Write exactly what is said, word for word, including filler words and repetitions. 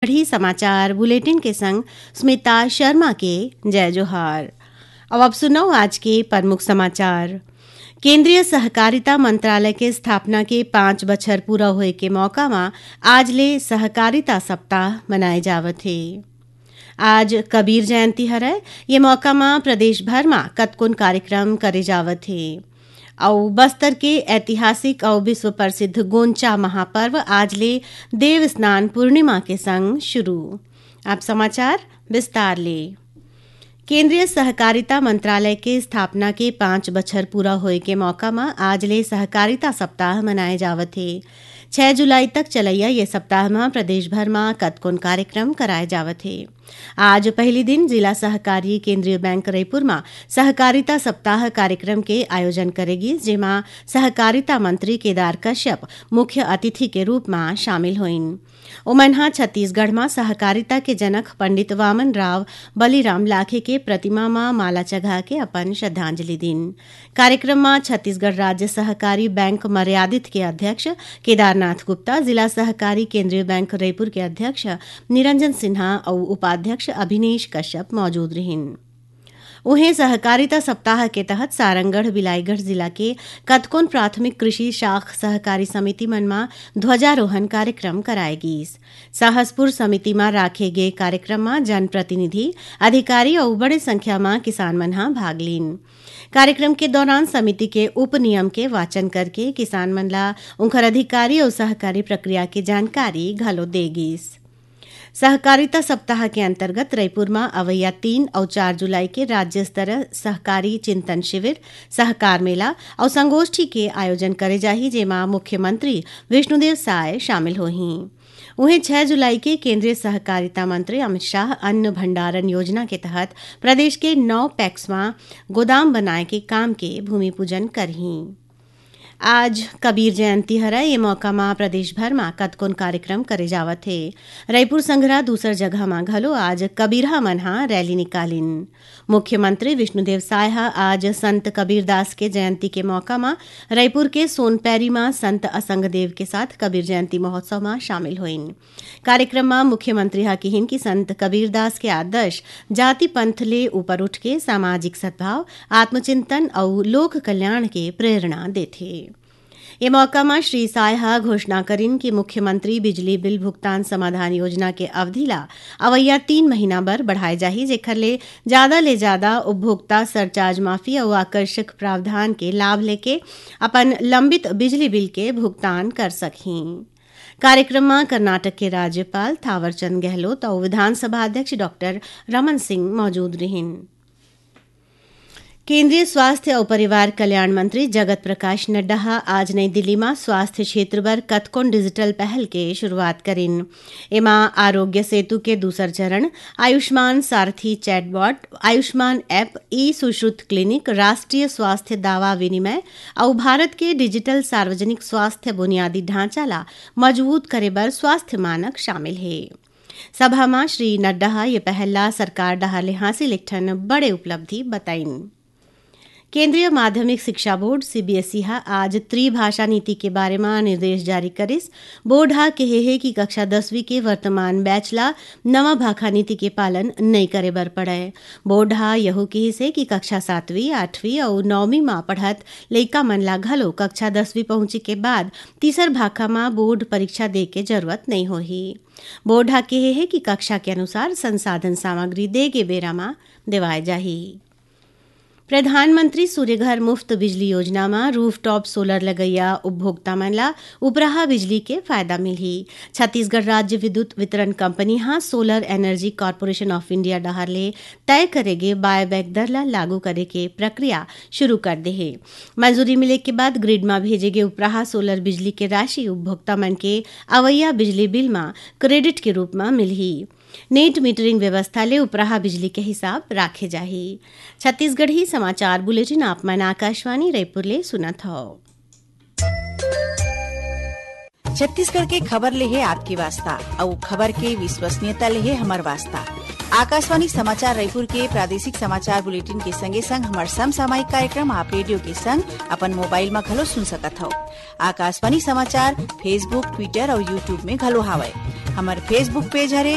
ही समाचार बुलेटिन के संग स्मिता शर्मा के जय जोहार। अब आप सुनव आज के प्रमुख समाचार। केंद्रीय सहकारिता मंत्रालय के स्थापना के पाँच बछर पूरा होए के मौका म आज ले सहकारिता सप्ताह मनाए जावत हे। आज कबीर जयंती हरय, ये मौका म प्रदेश भर म कतकोन कार्यक्रम करे जावत हे। अउ बस्तर के ऐतिहासिक अउ विश्व प्रसिद्ध गोंचा महापर्व आज ले देव स्नान पूर्णिमा के संग शुरू। आप समाचार विस्तार ले। केंद्रीय सहकारिता मंत्रालय के स्थापना के पाँच बछर पूरा होए के मौका म आज ले सहकारिता सप्ताह मनाए जावत हे। छह जुलाई तक चलैया ये सप्ताह म प्रदेश भर म कतकोन कार्यक्रम कराए जावत हे। आज पहली दिन जिला सहकारी केंद्रीय बैंक रईपुर म सहकारिता सप्ताह कार्यक्रम के आयोजन करे गिस, जेमा सहकारिता मंत्री केदार कश्यप मुख्य अतिथि के रूप म शामिल होइन। ओमन ह छत्तीसगढ़ म सहकारिता के जनक पंडित वामन राव बलिराम लाखे के प्रतिमा म माला चघा के अपन श्रद्धांजलि दीन। कार्यक्रम म छत्तीसगढ़ राज्य सहकारी बैंक मर्यादित के अध्यक्ष केदारनाथ गुप्ता, जिला सहकारी केंद्रीय बैंक रईपुर के अध्यक्ष निरंजन सिन्हा अउ उपाध्यक्ष अभिनेश कश्यप मौजूद रिहिन। उहें, सहकारिता सप्ताह के तहत सारंगढ़ बिलाईगढ़ जिला के कतकोन प्राथमिक कृषि शाख सहकारी समिति मन म ध्वजारोहण कार्यक्रम कराए गीस। साहसपुर समिति म राखे गे कार्यक्रम म जनप्रतिनिधि, अधिकारी अउ बड़े संख्या म किसान मन ह भाग लीन। कार्यक्रम के दौरान समिति के उपनियम के वाचन करके किसान मन ला उंखर अधिकारी अउ सहकारी प्रक्रिया के जानकारी घलो दे गीस। सहकारिता सप्ताह के अंतर्गत रईपुर म अवइया तीन अउ चार जुलाई के राज्य स्तर सहकारी चिंतन शिविर, सहकार मेला अउ संगोष्ठी के आयोजन करे जाही, जेमा मुख्यमंत्री विष्णुदेव साय शामिल होही। उहें, छह जुलाई के केंद्रीय सहकारिता मंत्री अमित शाह अन्न भंडारण योजना के तहत प्रदेश के नौ पैक्स म गोदाम बनाए के काम के भूमि पूजन करही। आज कबीर जयंती हरय, ये मौका म प्रदेश भर म कतकोन कार्यक्रम करे जावत हे। रईपुर संघरा दूसर जगह म घलो आज कबीरहा मन ह रैली निकालिन। मुख्यमंत्री विष्णुदेव साय ह आज संत कबीरदास के जयंती के मौका म रईपुर के सोनपैरी म संत असंग देव के साथ कबीर जयंती महोत्सव म शामिल होइन। कार्यक्रम म मुख्यमंत्री ह किहिन कि संत कबीरदास के आदर्श जाति पंथ ले ऊपर उठ के सामाजिक सद्भाव, आत्मचिंतन अउ लोक कल्याण के प्रेरणा देथे। ये मौका म श्री साय ह घोषणा करिन कि मुख्यमंत्री बिजली बिल भुगतान समाधान योजना के अवधि ला अवइया तीन महीना बर बढ़ाए जाही, जेखर ले जादा ले जादा उपभोक्ता सरचार्ज माफी अउ आकर्षक प्रावधान के लाभ लेके अपन लंबित बिजली बिल के भुगतान कर सकही। कार्यक्रम म कर्नाटक के राज्यपाल थावरचंद गहलोत अउ विधानसभा अध्यक्ष डॉक्टर रमन सिंह मौजूद रिहिन। केंद्रीय स्वास्थ्य अउ परिवार कल्याण मंत्री जगत प्रकाश नड्डा ह आज नई दिल्ली म स्वास्थ्य क्षेत्र बर कतकोन डिजिटल पहल के शुरुआत करिन। एमा आरोग्य सेतु के दूसर चरण, आयुष्मान सारथी चैटबॉट, आयुष्मान ऐप, ई सुश्रुत क्लिनिक, राष्ट्रीय स्वास्थ्य दावा विनिमय अउ भारत के डिजिटल सार्वजनिक स्वास्थ्य बुनियादी ढांचा ला मजबूत करे बर स्वास्थ्य मानक शामिल हे। सभा म श्री नड्डा ह ये पहल ला सरकार डहार ले हासिल एक ठन बड़े उपलब्धि बताइन। केंद्रीय माध्यमिक शिक्षा बोर्ड, सीबीएसई, ह आज त्रिभाषा नीति के बारे म निर्देश जारी करिस। बोर्ड ह केहे हे कि कक्षा दसवीं के वर्तमान बैच ला नवा भाखा नीति के पालन नइ करे बर पड़य। बोर्ड ह यहू किहिस हे कि कक्षा सातवीं, आठवीं अउ नौवीं म पढ़त लइका मन ला घलो कक्षा दसवीं पहुंचे के बाद तीसर भाखा म बोर्ड परीक्षा दे के जरूरत नइ होही। बोर्ड ह केहे हे कि कक्षा के अनुसार संसाधन सामग्री दे के बेरा म देवाए जाही। प्रधानमंत्री सूर्यघर मुफ्त बिजली योजना म रूफटॉप सोलर लगइया उपभोक्ता मन ला उपराहा बिजली के फायदा मिलही। छत्तीसगढ़ राज्य विद्युत वितरण कंपनी ह solar energy corporation of India डहार ले तय करे गे बायबैक दर ला लागू करे के प्रक्रिया शुरू कर दे हे। मंजूरी मिले के बाद ग्रिड म भेजे गे उपराहा सोलर बिजली के राशि उपभोक्ता मन के अवइया बिजली बिल म क्रेडिट के रूप म मिलही। नेट मीटरिंग व्यवस्था ले उपराहा बिजली के हिसाब राखे जाही। छत्तीसगढ़ी समाचार बुलेटिन आप मन आकाशवाणी रायपुर ले सुनत हव। छत्तीसगढ़ के खबर ले हे आपके वास्ता, अउ खबर के विश्वसनीयता ले हे हमर वास्ता। आकाशवाणी समाचार रायपुर के प्रादेशिक समाचार बुलेटिन के संगे संग हमर समसामयिक कार्यक्रम आप रेडियो के संग अपन मोबाइल म घलो सुन सकत हव। आकाशवाणी समाचार Facebook, Twitter अउ YouTube में घलो हावय। हमर Facebook पेज हरे